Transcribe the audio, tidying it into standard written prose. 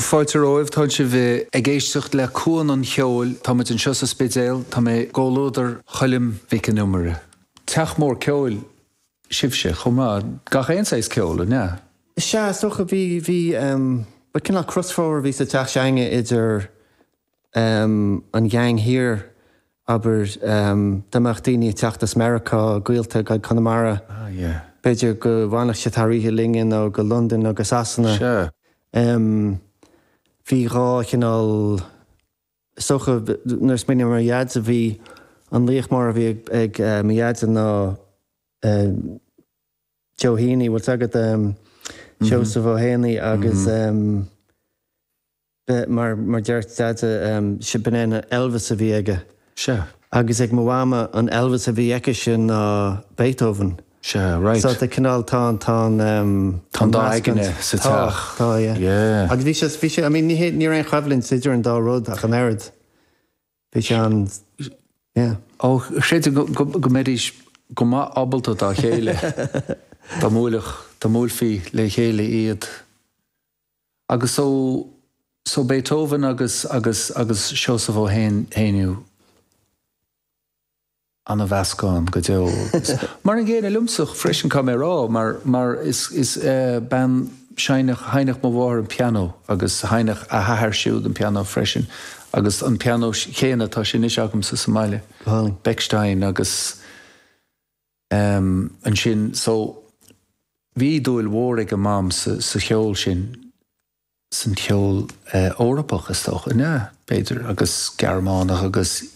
Fáilte romhaibh, tá sibh ag éisteacht le Cuan an Cheoil, tá muid anseo sa Spidéal, tá mé i gcomhluadar Choilm Mhic an Iomaire. Teach mór ceoil sibhse chomh maith, gach aon saghas ceoil, an ea? Sea, is dócha, bhí, bhí, ba cineál crosfhómhar a bhí sa teach s'againne idir an gheaing thiar, abair, dá mbeadh daoine ag teacht as Meiriceá, gaolta go Conamara, b'fhéidir go bhfanfadh siad thar oíche linne nó go Londain nó go Sasana. Bhí dhá chineál, is dócha, nuair a smaoiním ar mo dhaidse, bhí an laoch mór a bhí ag mo dhaidse ná Joe Heaney, bhfuil 's agat, Seosamh Ó hÉanaí agus. Mar mar deir Deaide, b'in é an Elvis a bhí aige. Sea. Agus ag mo mhama, an Elvis a bhí aici ná Beethoven. Sea, right. So tá cineál, tá an, tá an, Tá an dá aigne sa teach. Tá, tá, yeah. Yeah. Agus bhí sé, bhí sé, I mean, ní hé, ní raibh aon choimhlint idir an dá rud ach an oiread. Bhí sé an, yeah. Ó, chreidim go, go, go mbeidís go maith ábalta dá chéile dá mbuailfeadh, dá mbuailfí le chéile iad. Agus so, so Beethoven agus, agus, agus Seosamh Ó Héanaí, ana-mheascán go deo. Agus mar an gcéanna liomsa freisin, caithfidh mé a rá, mar, mar is, is bean seinneach, sheinneadh mo mháthair an pianó agus sheinneadh a hathair siúd an pianó freisin agus an pianó chéanna atá sé anois agamsa sa mbaile, Bechstein agus ansin so bhí dúil mhór ag a mam sa sa cheol sin, san cheol Eorpach is dócha, an ea, b'fhéidir, agus Gearmánach agus.